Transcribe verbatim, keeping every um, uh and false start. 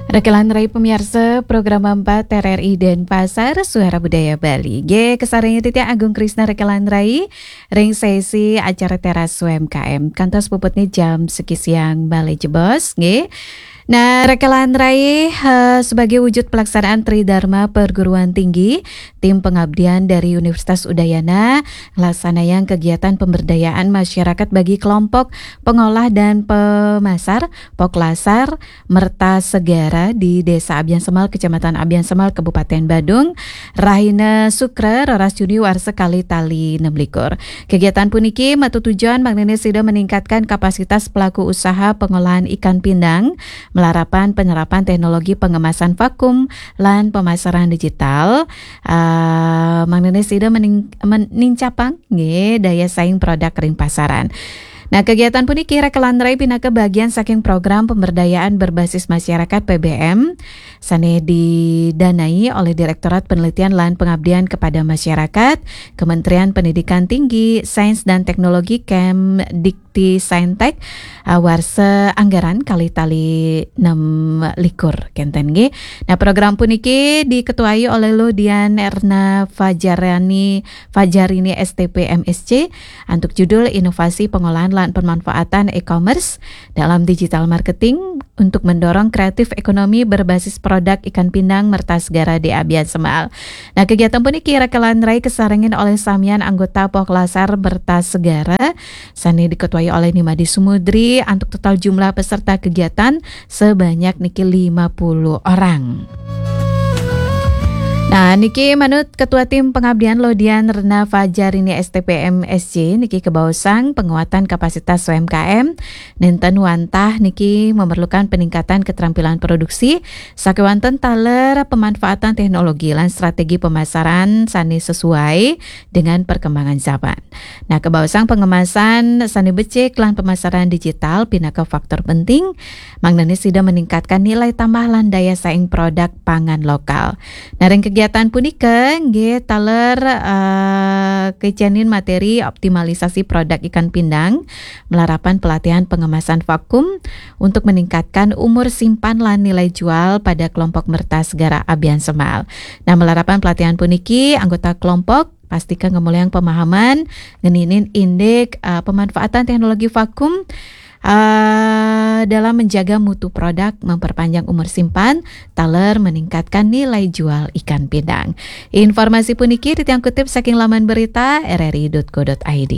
Rekelan Rai pemirsa, program empat R R I Denpasar, Suara Budaya Bali. G, kesarengnya titiang Agung Krisna Rekelan Rai, ring sesi acara Teras U M K M. Kantos puputnya jam siki siang bale jebos, nggih. Nah, Rekelan Rai, eh, sebagai wujud pelaksanaan Tridharma Perguruan Tinggi, tim pengabdian dari Universitas Udayana nglaksanayang kegiatan pemberdayaan masyarakat bagi kelompok pengolah dan pemasar, Poklasar, Merta Segara di Desa Abian Semal, Kecamatan Abian Semal, Kabupaten Badung, rahina Sukra, roras Juni warsa kalih tali enam likur. Kegiatan puniki matutujuan mangdané sida meningkatkan kapasitas pelaku usaha pengolahan ikan pindang, malarapan penerapan teknologi pengemasan vakum lan pemasaran digital. Ah, mangdané sida mening-, men-, nincapang, nggih, daya saing produk ring pasaran. Nah, kegiatan puniki Rekelan Rai pinaka bagian saking program pemberdayaan berbasis masyarakat, P B M, sané didanai oleh Direktorat Penelitian lan Pengabdian Kepada Masyarakat, Kementerian Pendidikan Tinggi, Sains dan Teknologi, Kemdikti Saintek, ah, warsa anggaran kalih tali enam likur, kénten nggih. Nah, program puniki diketuai oleh Luh Dian Erna Fajarani, Fajarini, S T P, M S C, antuk judul Inovasi Pengolahan lan Pemanfaatan E-commerce dalam Digital Marketing untuk Mendorong Kreatif Ekonomi Berbasis Produk Ikan Pindang Merta Segara di Abian Semal. Nah, kegiatan puniki Rekelan Rai kesarengin olih samian anggota Poklasar Merta Segara, sané diketuai oleh Ni Madi Sumudri, antuk total jumlah peserta kegiatan sebanyak niki lima puluh orang. Nah, niki manut Ketua Tim Pengabdian Luh Dian Erna Fajarini, S T P, M S C, niki kabaosang penguatan kapasitas U M K M nénten wantah niki memerlukan peningkatan keterampilan produksi, sakéwanten taler pemanfaatan teknologi lan strategi pemasaran sané sesuai dengan perkembangan zaman. Nah, kabaosang pengemasan sané becik lan pemasaran digital pinaka faktor penting, mangdané sida meningkatkan nilai tambah lan daya saing produk pangan lokal. Nah, ring kegiatan punika, nggih, taler, eh, kecenin materi optimalisasi produk ikan pindang, malarapan pelatihan pengemasan vakum untuk meningkatkan umur simpan lan nilai jual pada kelompok Merta Segara Abian Semal. Nah, malarapan pelatihan puniki, anggota kelompok pastika ngemulihang pemahaman ngeninin indik, eh, pemanfaatan teknologi vakum, eh, dalam menjaga mutu produk, memperpanjang umur simpan, taler meningkatkan nilai jual ikan pindang. Informasi puniki titiang kutip saking laman berita R R I dot co dot I D.